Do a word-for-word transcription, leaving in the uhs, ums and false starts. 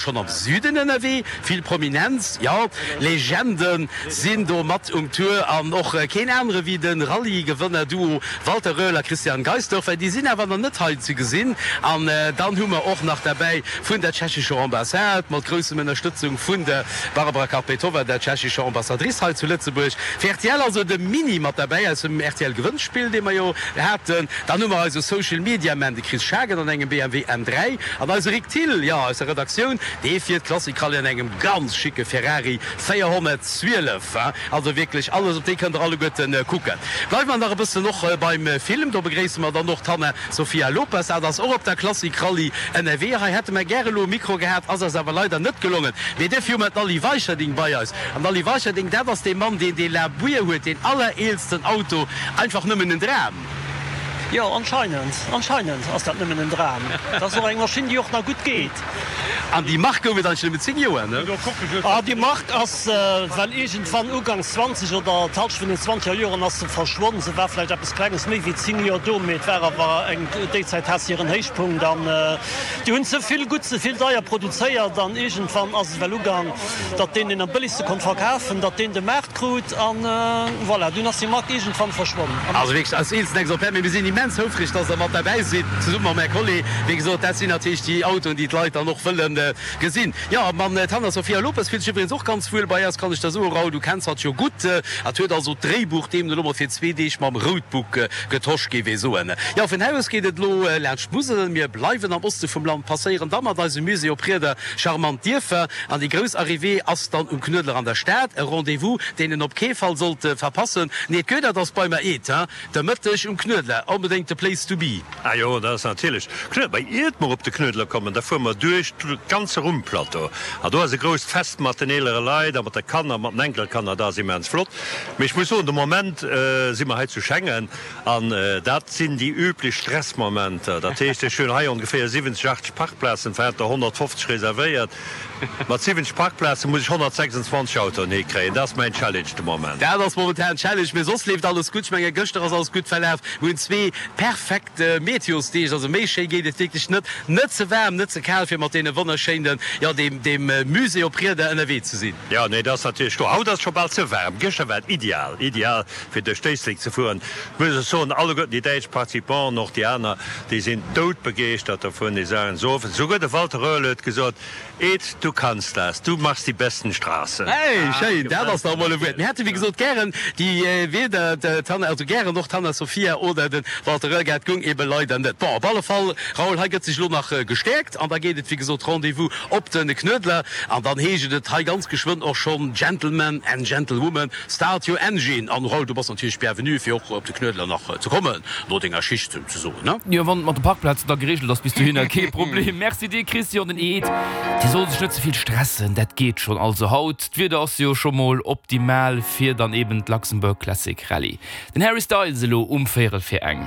Schonn am Süden ënnerwee, vill Prominenz, jo, Legende sinn do mat um Tour an och keen anere wéi de Rallye-Gewënner-Duo Walter Röhrl a Christian Geistdörfer. Déi sinn awer nach net hei ze gesinn. An dann hu mer och nach derbäi vun der tschechescher Ambassade, mat groussem Ënnerstëtzung vun der Barbara Karpetová, der tschechescher Ambassadrice hei zu Lëtzebuerg, fir rtl also de Mini mat derbäi aus dem R T L-Gewënnspill, dee mer jo haten. Dann hu mer eise Social Media Man, de Chris Schagen an engem B M W M dräi an eise Rick Thill, jo, aus der Redaktioun, dee fiert Classic Rallye an engem ganz schicke Ferrari véierhonnertzwielef. Also wierklech alles, op déi kënnt der alleguerten kucken. Bleiwe mer nach e bëssen och beim Film, do begréisse mer dann och d'Hanna Sofia Lopez, dat ass och op der Classic Rallye ënnerwee. Hei hätte mer gäre elo e Mikro gehat, ass eis awer leider net gelongen. Mee duerfir hu mer d'Aly Weicherding bei eis. An Aly Weicherding, dat ass dee Mann, deen dee La Buer huet, deen allereelsten Auto, einfach nëmmen en Dram. Jo, anscheinend, anscheinend ass dat nëmmen en Dram. Dat ass och eng Maschinn, déi och nach gutt geet. An déi Mark gouf et eigentlech nëmmen zéng Joer, ne? Ah, déi Mark ass well iergendwann ugangs zwanzeg oder d'Hallschent vun den zwanzeger Joren ass se verschwonn. Se war vläicht eppes Klenges méi wéi zéng Joer do, mee et war awer eng, déi Zäit hat se hiren Héichpunkt an déi hunn ze vill gutt, ze vill deier produzéiert an iergendwann ass et well ugang, datt deen, deen am bëllegste konnt verkafen, datt deen de Maart krut an voilà, dunn ass déi Mark iergendwann verschwonn. Also wierklech als eelsten Exemplaire, mee mir sinn immens houfreg, dass Der mat derbäi sidd, zesumme mam Här Collet. Wéi gesot, dat sinn natierlech déi Autoen, déi d'Leit dann och wëlle gesinn. Jo, an d'Hanna Sofia Lopes fillt sech iwwregens och ganz wuel bei eis, kann ech der soen. Raoul, du kenns hatt jo gutt. Hatt huet also d'Dréibuch deemno elo mol fir zwee Deeg mam Roadbook getosch, géif ee soen. Jo, vun hei aus geet et elo laanscht d'Musel. Mir bleiwen am Oste vum Land, passéieren da mat eisem Musée op Rieder charmant Dierfer an déi grouss Arrivée ass dann um Knuedler an der Stad. E Rendez-vous, deen een op kee Fall sollt verpassen. Nee, d'Goethe ass bei mer eet, hein? De Mëtteg um Knuedler, onbedéngt de Place to be. Ah jo, dat ass natierlech Knuedler. Mä iert mer op de Knuedler kommen, da fuere mer duerch de ganze Rummplateau. An do ass e grousst Fest mat den eelere Leit a mat de Kanner, mat den Enkelkanner. Dat ass immens flott. Mee ech muss soen, de Moment si mer hei zu Schengen an dat sinn déi üblech Stressmomenter. Dat heescht, ech hunn hei ongeféier siwwenzeg, achtzeg Parkplazen, war der honnertfofzeg reservéiert. Mat siwwenzeg Parkplaze muss ech honnertsechsundzwanzeg Autoen hikréien. Dat ass mäin Challenge de Moment. Dat ass momentan Challenge, mee soss leeft alles gutt. Ech menge gëschter ass alles gutt verlaf. Mir hunn zwee perfekt Meteosdeeg, also méi schéi geet et wierklech net. Net ze waarm, net ze kal, fir mat deene wonnerschéinen, jo, deem deem Musée op Rieder ënnerwee ze sinn. Jo, nee, dat ass natierlech kloer. Haut ass et scho bal ze waarm. Gëschter war et ideal, ideal fir duerch d'Éislek ze fueren. Ech muss och soen, alleguerten déi däitsch Participanten, och déi aner, déi sinn doudbegeeschtert dovun. Déi sagen esou oft, esouguer de Walter Röhrl huet gesot, Ed, du kannst das, du machst die besten Straßen. Hey, schéin, dat ass dach emol e Wuert. Mir hätte wéi gesot gären déi weder d'Hanna, also gären och d'Hanna Sophia oder de Walter Röhrl gehat, goung ebe leider net. Bon, op alle Fall, Raoul, hei gëtt sech elo nach gestäerkt an da geet et wéi gesot Rendez-vous op de Knuedler an dann heescht et hei ganz geschwënn och schonn Gentlemen and Gentlewomen, start your engine. An Raoul, du bass natierlech bienvenu fir och op de Knuedler nach ze kommen no denger Schicht souzesoen, ne? Jo, wann et mat de Parkplazen da gereegelt ass bis dohinner, kee Problem. Merci dir, Christian. Den Ed, dee soll sech net ze vill stressen, dat geet schonn. Also haut, d'Wieder ass jo scho mol optimal fir dann eben d'Luxembourg Classic Rallye. Den Harry Styles elo um véierel fir eng.